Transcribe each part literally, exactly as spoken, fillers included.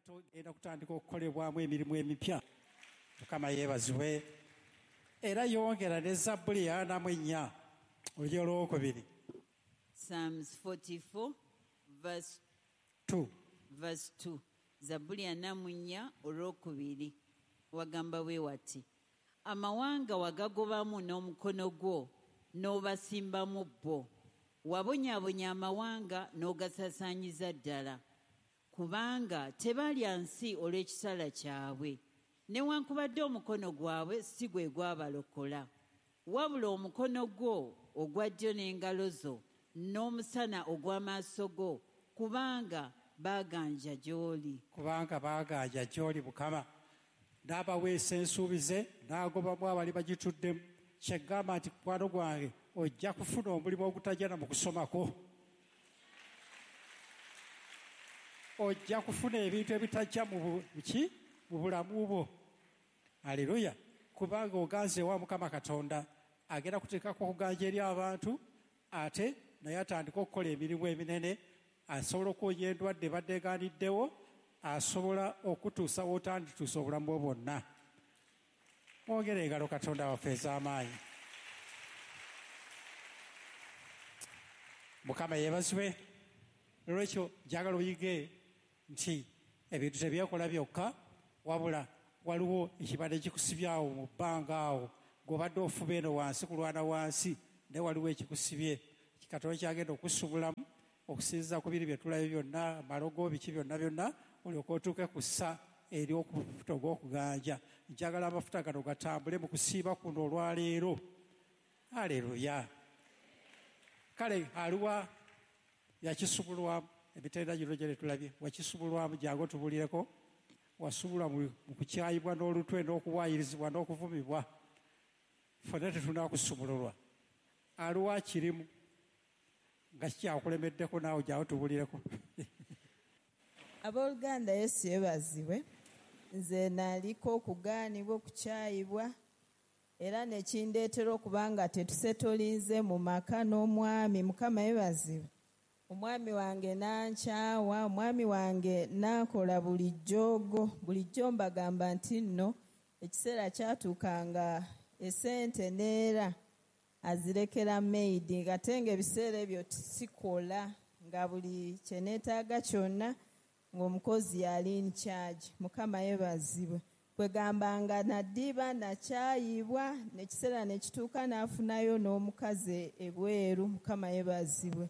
Togenda kutandika okukolebwamu emirimu emipya. Mukama yeebazibwe. Era yongera ne Zabbuli ana mu ennya olunyiriri olwokubiri. Psalms forty-four verse two. Verse two. Zabbuli ana mu nnya olwokubiri. Wagamba bwe wati, amawanga wagagobamu n'omukono gwo n'obasimbamu bo, wabonyaabonya amawanga n'ogasaasaanyiza ddala, kubanga tebalya nsi olw'ekitala kyabwe, newankubadde omukono gwabwe si gwe gwabalokola, wabula omukono gwo ogwa ddyo n'engalo zo n'omusana ogw'amaaso go, kubanga baaganja gy'oli. Kubanga baaganja gy'oli Mukama. N'abaweesa ensuubize n'agobamu abali bagituddemu. Kyegamba nti mukwano gwange ojja kufuna omulimu ogutajja na mu kusomako, ojja kufuna ebintu ebitajja mu ki mu bulamu bwo. Haleluya. Kubanga oganze ewa Mukama Katonda, agenda kuteekako okuganja eri abantu, ate naye atandika okukola emirimu eminene, asobola okuwonya endwadde ebadde egaaniddewo, asobola okutuusa w'otandituusa obulamu bwo bwonna. Mwongere engalo Katonda waffe ez'amaanyi. Mukama yeebazibwe. Olwekyo njagala oyige nti ebintu tebyekola byokka, wabula waliwo ekibadde kikusibye awo mu bbanga awo, gw'obadde ofuba eno wansi kulwana wansi, naye waliwo ekikusibye. Katonda kyagenda okusubulamu okusinziira ku biri bye tulabye byonna, amalogo biki byonna byonna, olyoke otuuke ku ssa ery'okufuta ogw'okuganja. Njagala amafuta gano gatambule mu kusiiba kuno olwaleero. Haleluya. Kale aliwa yakisubulwamu emitendera gino gye tulabye, wakisubulwamu, jangu otubulireko. Wasubulwa mu kukyayibwa n'olutwe n'okuwaayirizibwa n'okuvumibwa, ffenna tetunaakusumululwa. Aliwa kirimu nga kikyakulemeddeko, naawe jangu tubulireko. Abooluganda, Yesu yeebazibwe. Nze naliko okugaanibwa, okukyayibwa, era ne kindeetera okuba nga tetusetolinze mu maka n'omwami. Mukama yeebazibwe. Omwami wange n'ankyawa, omwami wange n'ankola bulijjo. Bulijjo mbagamba nti nno ekiseera kyatuuka nga esente neera azirekera maid, ate ng'ebiseera ebyo sikola, nga buli kye neetaaga kyonna ng'omukozi yali in charge. Mukama yeebazibwe. Kwegamba nga naddiba nakyayibwa, n'ekiseera ne kituuka n'afunayo n'omukazi ebweru. Mukama yeebazibwe.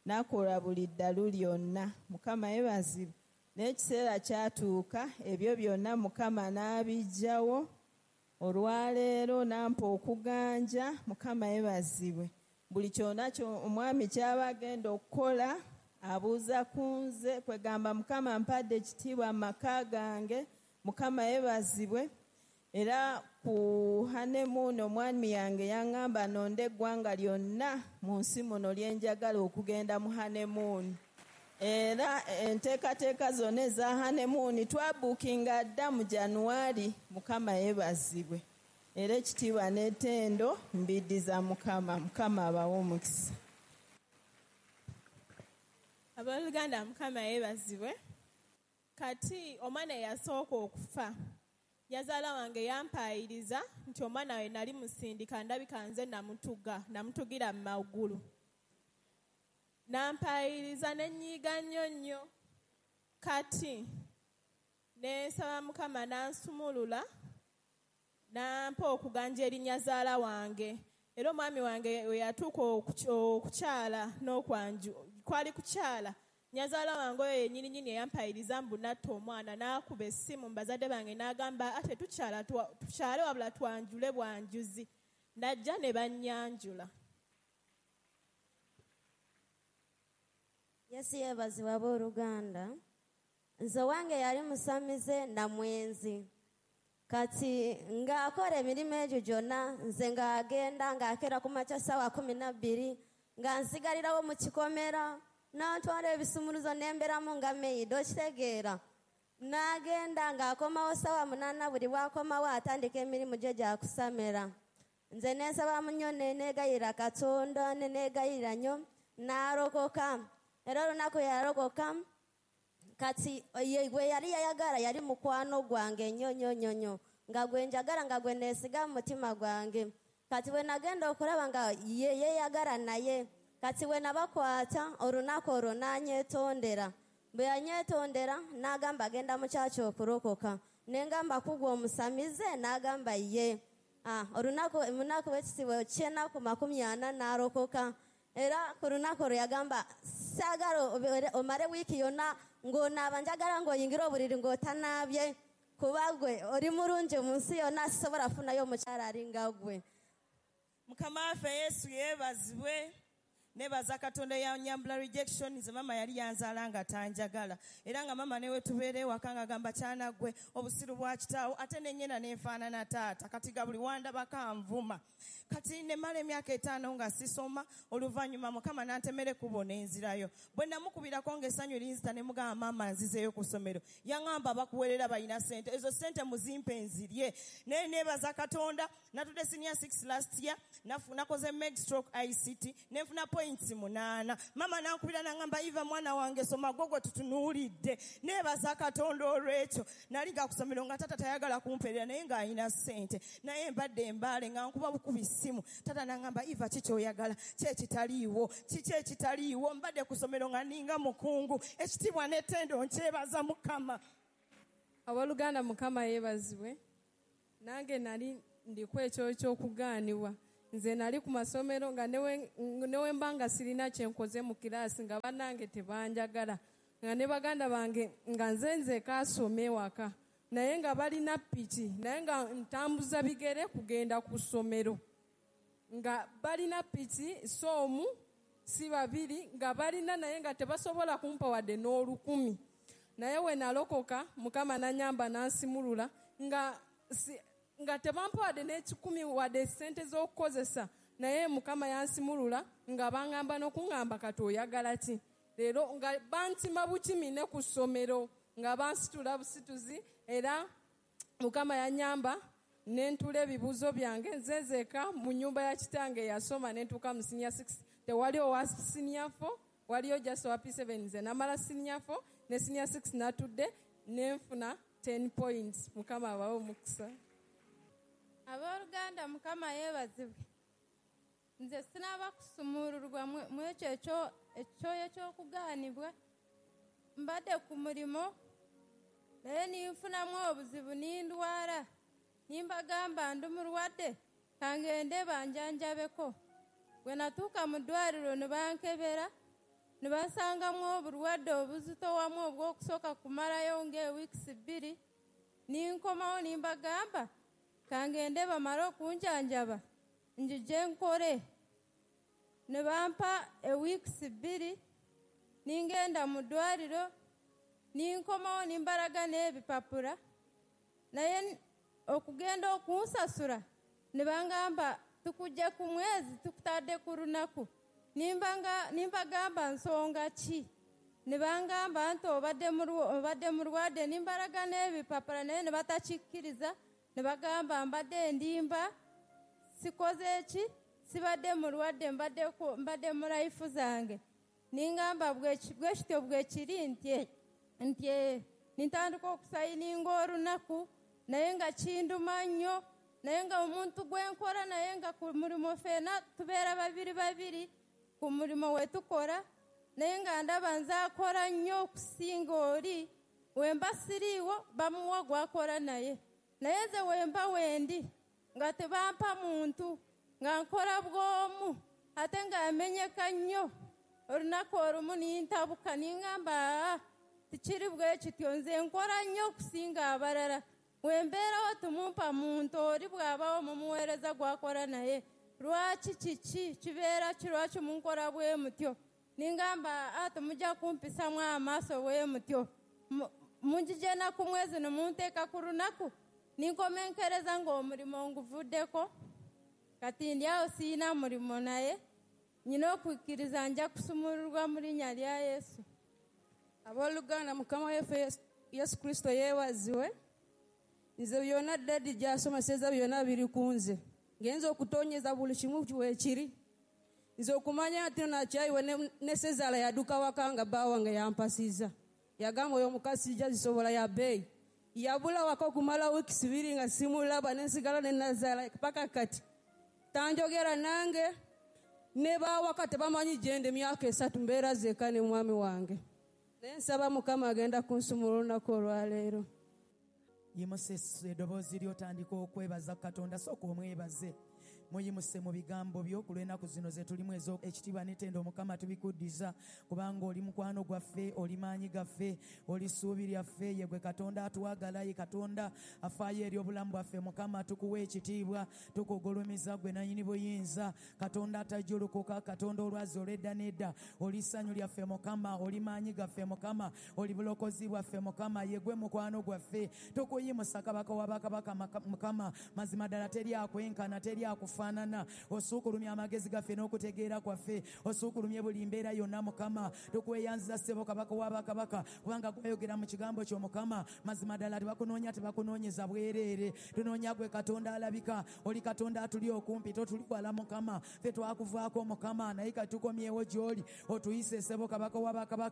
N'akola buli ddalu lyonna. Mukama yeebazibwe. N'ekiseera kyatuuka ebyo byonna Mukama n'abiggyawo. Olwaleero n'ampa okuganja. Mukama yeebazibwe. Buli kyonna omwami ky'aba agenda okukola abuuza ku nze. Kwegamba Mukama mpadde ekitiibwa mu maka gange. Mukama yeebazibwe. Era ku honeymoon omwami yange yaŋŋamba nonde eggwanga lyonna mu nsi muno lye njagala okugenda mu honeymoon. Era enteekateeka zonna eza honeymoon twabuukinga dda mu January. Mukama yeebazibwe. Era ekitiibwa n'ettendo mbiddiza Mukama. Mukama abawe omukisa. Abooluganda, Mukama yeebazibwe. Kati omwana eyasooka okufa, nyazaala wange yampaayiriza nti omwana we nali musindika, ndabika nze namutuga, namutugira mu magulu. Nampaayiriza ne nnyiiga nnyo nnyo. Kati ne nsaba Mukama n'ansumulula, n'ampa okuganja eri nyazaala wange. Era omwami wange we yatuuka okukyala n'okwanju, kwali kukyala, nyazaala wange oyo yennyini nnyini eyampayiriza mbu natta omwana, n'akuba essimu mu bazadde bange n'agamba ate tukyala tukyale wabula twanjule bwanjuzi. Najja ne bannyanjula. Yesu yeebazibwe abooluganda. Nze wange yali musamize na mwenzi. Kati ng'akola emirimu egyo gyonna, nze ng'agenda ng'akeera ku makya ssaawa kumi na bbiri, nga nsigalirawo mu kikomera, n'antwala ebisumuluzo n'embeeramu nga maid, okitegeera. N'agenda ng'akomawo ssaawa munaana, buli bw'akomawo atandika emirimu gye gya kusamira. Nze ne nsabamu nnyo ne neegayirira Katonda, ne neegayirira nnyo, n'alokoka. Era olunaku yalokoka, Kati ye gwe yali yayagala yali mukwano gwange nnyo nnyo nnyo nnyo, nga gwe njagala, nga gwe neesiga mu mutima gwange. Kati bwe nagenda okulaba nga ye yeeyagala naye, kati bwe nabakwata olunaku olwo n'anyeetondera. Bwe yanyeetondera n'agamba agenda mu kyaki okulokoka. Ne ngamba kugwa omusamize, n'agamba ye. Ah, olunaku munaku w'ekisibo ky'ennaku makumi ana n'alokoka. Era ku lunaku olwo yagamba saagala omale wiiki yonna ng'onaaba, njagala ng'oyingira obuliri ng'otanaabye, kuba gwe oli mulungi mu nsi yonna, sisobola kufunayo omukyala alinga gwe. Mukama waffe Yesu yeebazibwe. Nebaza Katonda yanyambula rejection. Nze mama yali yanzaala nga tanjagala, era nga mama newe tubeera ewaka nga gamba kyana gwe obusiru bwa kitaawo, ate ne nnyina nenfaanana taata. Kati ga buli wandabako anvuma. Kati nemala emyaka etaano nga sisoma. Oluvannyuma Mukama n'antemera ekkubo n'enzirayo. Bwe namukubirako ng'essanyu linzita ne mugamba maama nzizeeyo ku ssomero, yaŋŋamba bakuweerera balina ssente, ezo ssente muzimpe nzirye. Naye nebaza Katonda, natudde senior six last year, nakoze meg stroke I C T, nenfuna point munaana. Mama nankubira n'aŋŋamba Eva mwana wange soma gwe gwe tutunuulidde. Nebaza Katonda olw'ekyo. Nali nga ku ssomero nga taata tayagala kumpeerera, naye ng'alina ssente, naye mbadde embaale nga nkuba bukubi ssimu. Taata n'aŋŋamba Eva ki ky'oyagala, ki ekitaliiwo, kiki ekitaliiwo. Mbadde ku ssomero nga ninga mukungu, ekitiibwa n'ettendo nkyebaza Mukama. Abooluganda Mukama yeebazibwe. Nange nali ndiko ekyo ky'okugaanibwa. Nze nali ku masomero nga newe mba nga sirina kye nkoze mu kiraasi, nga bannange tebanjagala, nga ne baganda bange nga nze nzeka asome ewaka, naye nga balina piki, naye nga ntambuza bigere kugenda ku ssomero, nga balina piki so omu si babiri, nga balina naye nga tebasobola kumpa wadde n'olukumi. Naye we nalokoka Mukama n'annyamba n'ansimulula, nga si, nga tebampa wadde n'ekikumi wadde ssente z'okukozesa, naye Mukama yansimulula nga bangamba n'okuŋŋamba kati oyagala ki. Leero nga bantima bukimi ne ku ssomero, nga bansitula busituzi, era Mukama yannyamba ne ntuula ebibuuzo byange nze nzeka mu nnyumba ya kitange yasoma ne ntuuka mu senior six. Tewali owa senior four, waliyo just owa P seven. Nze namala senior four ne senior six natudde ne nfuna ten points. Mukama abawe omukisa. Abooluganda Mukama yeebazibwe. Nze sinaba kusumululwa mu ekyo ekyoyo ky'okugaanibwa. Mbadde ku mulimo naye ninfunamu obuzibu nindwala. Nimbagamba ndi mulwadde kangende banjanjabeko. Bwe natuuka mu ddwaliro ne bankebera ne bansangamu obulwadde obuzitowamu obw'okusooka kumalayo ng'ewiikisi bbiri. Ninkomawo nimbagamba kangende bamale okunjanjaba njije nkole. Ne bampa ewiikisi bbiri ningenda mu ddwaliro ninkomawo nimbalaga n'ebipapula, naye okugenda okunsasula ne bangamba tukujja ku mwezi tukutadde ku lunaku. Nimbanga nimbagamba nsonga ki? Ne bangamba nti obadde obadde mulwadde. Nimbalaga n'ebipapula naye ne batakikkiriza, ne bagamba mbadde ndimba, sikoze ki, sibadde mulwadde, mbadde mbadde mu life zange. Ningamba bwe kityo bwe kiri nti nti nintandika okusayininga olunaku, naye nga kinduma nnyo, naye nga omuntu gwe nkola naye nga ku mulimu ffenna tubeera babiri babiri ku mulimu we tukola, naye nga ndaba nze akola nnyo okusinga oli. We mba siriiwo bamuwa gwakola naye, naye nze we mba wendi nga tebampa muntu, nga nkola bw'omu ate nga amenyeka nnyo. Olunaku olumu nintabuka ningamba tikiri bwe kityo, nze nkola nnyo okusinga abalala. We mbeerawo tumumpa muntu, oli bw'abawo mumuweereza gwakola naye. Lwaki kiki kibeera ki, lwaki munkola bwe mutyo? Ningamba temujja kumpisamu amaaso bwe mutyo, munjije na ku mwezi ne munteeka ku lunaku. Ninkomenkereza ng'omulimo nguvuddeko. Kati ndi awo siyina mulimu, naye nyina okukkiriza nja kusumululwa mu linnya lya Yesu. Abooluganda Mukama waffe Yesu Kristo yeebazibwe. Nze byonna daddy gy'asomeseza byonna biri ku nze. Ngenza okutonyeza buli kimu weekiri. Nze okumanya nti nakyayiwe ne Sezaala yaduka waka nga bba wange yampasiza. Yagamba oyo omukazi sijja zisobola ya bbeeyi. Yabula waka okumala wiiki bbiri nga simulaba, ne nsigala ne nazaala paka kati. Tanjogera nange ne baawaka tebamanyi gye ndi, emyaka esatu mbeera zeeka ne mwami wange. Naye nsaba Mukama agenda kunsumula olunaku olwaleero. Yimuse eddoboozi ly'otandika okwebaza Katonda, sooka omwebaze. Muyimuse mu bigambo byo ku lw'ennaku zino ze tulimu ez'ekitiibwa n'ettendo. Mukama tubikuddiza kubanga oli mukwano gwaffe, oli maanyi gaffe, oli ssuubi lyaffe. Ye gwe Katonda atwagala, ye Katonda afaayo eri obulamu bwaffe. Mukama tukuwa ekitiibwa, tukugulumiza gwe nannyini buyinza, Katonda atajjulukuka, Katonda olwazi olw'edda n'edda. Oli ssanyu lyaffe Mukama, oli maanyi gaffe Mukama, oli bulokozi bwaffe Mukama, ye gwe mukwano gwaffe. Tukuyimusa Kabaka wa bakabaka Mukama, mazima ddala teri akwenkana, teri akufa faanana. Osuukulumya amagezi gaffe n'okutegeera kwaffe, osuukulumye buli mbeera yonna Mukama. Tukweyanziza ssebo Kabaka wa bakabaka, kubanga gwayogera mu kigambo kyo Mukama. Mazima ddala tebakunoonya, tebakunoonyeza bwereere. Tunoonya gwe Katonda alabika, oli Katonda atuli okumpi, totuli wala Mukama. Ffe twakuvaako Mukama, naye kati tukomyewo gy'oli, otuyise ssebo Kabaka wa bakabaka.